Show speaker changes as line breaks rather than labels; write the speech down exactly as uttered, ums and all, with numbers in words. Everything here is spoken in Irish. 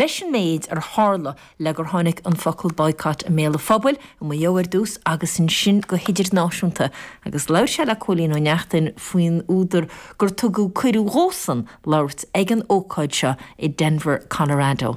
Leis an méid ar tharla le gur tháinig an focal boycott i mbéal an phobail i Maigh Eo ar dtús agus ansin go hidirnáisiúnta agus labhair sé le Cóilín Ó Neachtain faoin údar gur tugadh cuireadh dhósan labhairt ag an ócáid seo i Denver, Colorado.